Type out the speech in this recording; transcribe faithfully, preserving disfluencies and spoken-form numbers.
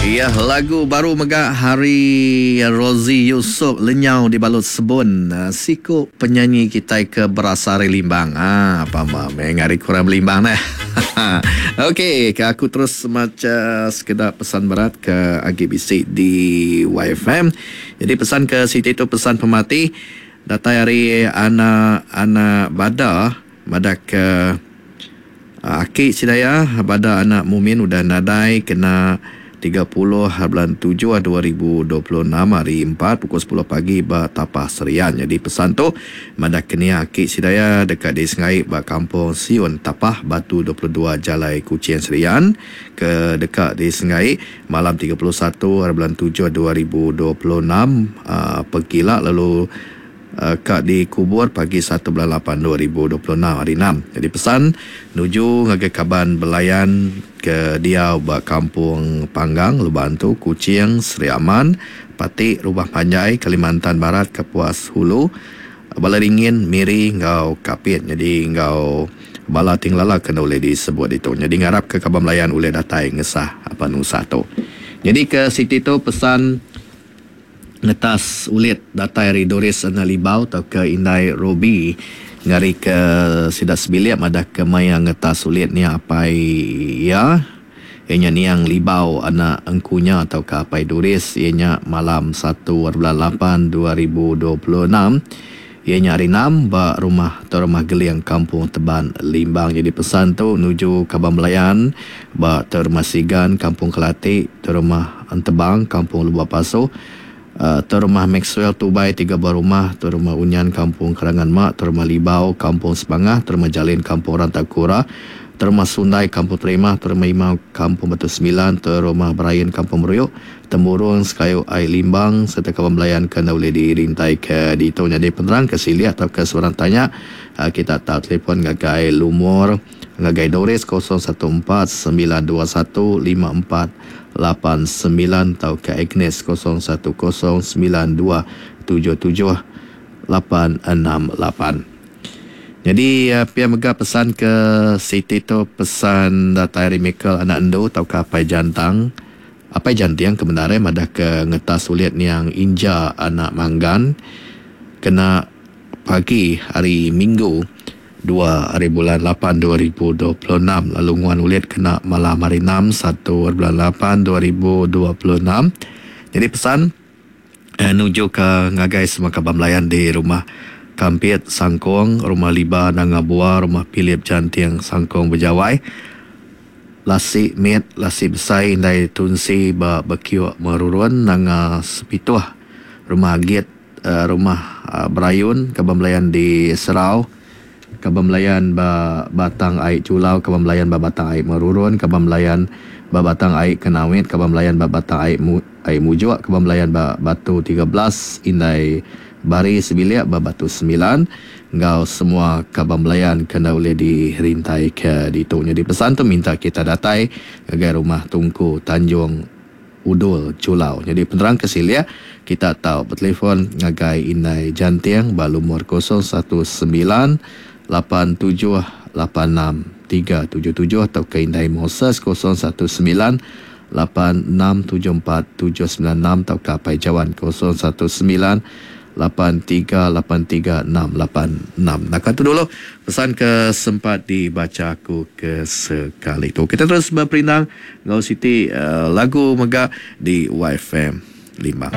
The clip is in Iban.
Iya lagu baru mega hari Rosey Yusuf Lenyau Dibalut Sebun. Siku penyanyi kitai ke berasal ari Limbang. Ah, pama meh ngari kurang Limbang neh. Okey, ke aku terus macha sekeda pesan berat ke agi bisi di Y F M. Jadi pesan ke siti tu pesan pemati datai ari anak-anak Bada madah ke aki sidaya Bada anak Mumin udah nadai kena tiga puluh bulan tujuh dua ribu dua puluh enam hari empat pukul sepuluh pagi ba Tapah Serian. Jadi pesan tu madah kenia aki sidaya dekat di Sengai ba Kampung Siun Tapah Batu dua puluh dua Jalai Kuching Serian ke dekat di Sengai malam tiga puluh satu hari bulan tujuh dua ribu dua puluh enam uh, pegila lalu Uh, kak dikubur pagi satu bulan lapan dua ribu dua puluh enam hari enam. Jadi pesan nuju ngagai kaban belayan ke dia ba Kampung Panggang, Lubantu, Kuching, Sri Aman, Pati, Rubah Panjai, Kalimantan Barat, Kapuas Hulu, Balai Ringin, Miri ngau Kapit. Jadi ngau bala tinglala kena boleh disebut itu. Jadi ngarap ke kaban belayan boleh datai ngesah apa nusah tu. Jadi ke siti tu pesan ngetas ulit datai ari Doris Ana Libau atau ke Indai Ruby ngari ke sida sebilik madah ke maya ngetas ulit ni apai iya ianya niang Libau anak engkunya atau ke apai Doris ianya malam satu bulan lapan dua ribu dua puluh enam ianya hari enam ba rumah atau rumah Geling Kampung Teban Limbang. Jadi pesan tu nuju Kaban Belayan ba Rumah Sigan Kampung Kelati, Rumah Entebang Kampung Lubuk Pasu, Uh, Rumah Maxwell Tubai tiga buah rumah, Rumah Unyan Kampung Kerangan Mak, Rumah Libau Kampung Sebangah, Rumah Jalin Kampung Rantakura, Rumah Sundai Kampung Terima, Rumah Imau Kampung Batu Sembilan, Rumah Brian Kampung Meruyuk, Temurung Sekayu Air Limbang serta kawan belayan kena boleh dirintai ke ditu. Jadi penerang ke sili atau ke sebarang tanya uh, kita tak telefon ngagai lumur ngagai Doris kosong satu empat sembilan dua satu lima empat lapan sembilan atau ke Agnes kosong satu kosong sembilan dua tujuh tujuh lapan enam lapan. Jadi uh, pia mega pesan ke Siti tu pesan datai ari Michael anak Endu atau ke Apai Jantang. Apai Jantiang kebenaran madah ke ngetas sulit niang Inja anak Manggan kena pagi hari Minggu dua hari bulan lapan dua ribu dua puluh enam lalu nguan ulit kena malam hari enam satu hari bulan lapan dua ribu dua puluh enam. Jadi pesan eh, nuju ke ngagai semua kaban belayan di rumah Kampit Sangkong, rumah Liba Nanga Bua, rumah Philip Jantiang Sangkong Bejawai, Lasi Mit, Lasi Besai Indai Tunsi ba Bekiok Merurun Nanga Sepituh, rumah Agit, uh, rumah uh, Berayun, kaban belayan di Serau, kaban belayan ba Batang Aik Culau, kaban belayan ba Batang Aik Merurun, kaban belayan ba Batang Aik Kenawit, kaban belayan ba Batang Aik Mu, Aik Mujuk, kaban belayan ba Batu tiga belas, Indai Bari Sebilik ba Batu sembilan, ngau semua kaban belayan kena boleh dirintai ke ditu. Jadi pesan tu minta kita datai ngagai rumah Tungku Tanjung Udul Culau. Jadi penerang ke silia kita tahu bertelefon ngagai Indai Jantiang ba lumur kosong satu sembilan lapan tujuh lapan enam tiga tujuh tujuh atau ke Indai Moses kosong satu sembilan lapan enam tujuh empat tujuh sembilan enam atau ke Apai Jawan kosong satu sembilan lapan tiga lapan tiga enam lapan enam. Nah, kata dulu pesan ke sempat dibaca aku ke sekali tu. Kita terus berperindang ngau Siti uh, lagu mega di Y F M Limbang.